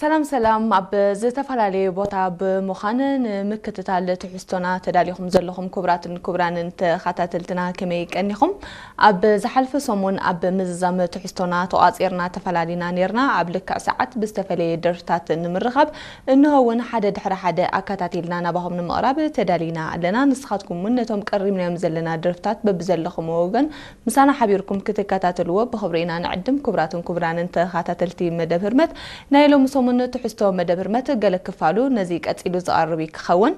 ሰላም ሰላም፣ ኣብ ዝተፈላለየ ቦታ ብምዃን ንምክትታል ትሕዝቶና ተዳሊኹም ዘለኹም ክቡራትን ክቡራንን ተኸታተልትና ከመይ ቀኒኹም? ኣብ ዝሓልፈ ሰሙን ኣብ ምዝዛም ትሕዝቶና ተቋጺርና ተፈላሊና ነይርና። ኣብ ልክዕ ሰዓት ብዝተፈለየ ደርፍታት ንምርኻብ እንሆ እውን ሓደ ድሕሪ ሓደ ኣከታቲልና ናባኹም ንምቕራብ ተዳሊና ኣለና። ንስኻትኩም እውን ነቶም ቀሪብናዮም ዘለና ደርፍታት በብዘለኹም ወገን ምሳና ሓቢርኩም ክትከታተልዎ ብኽብሪ ኢና ንዕድም። ክቡራትን ክቡራንን ተኸታተልቲ መደብ ህርመት፣ ናይ ሎሚ ሰሙን ትሕዝቶ መደብ ህርመት ገለ ክፋሉ ነዚ ቀጺሉ ዝቐርብ እዩ ክኸውን።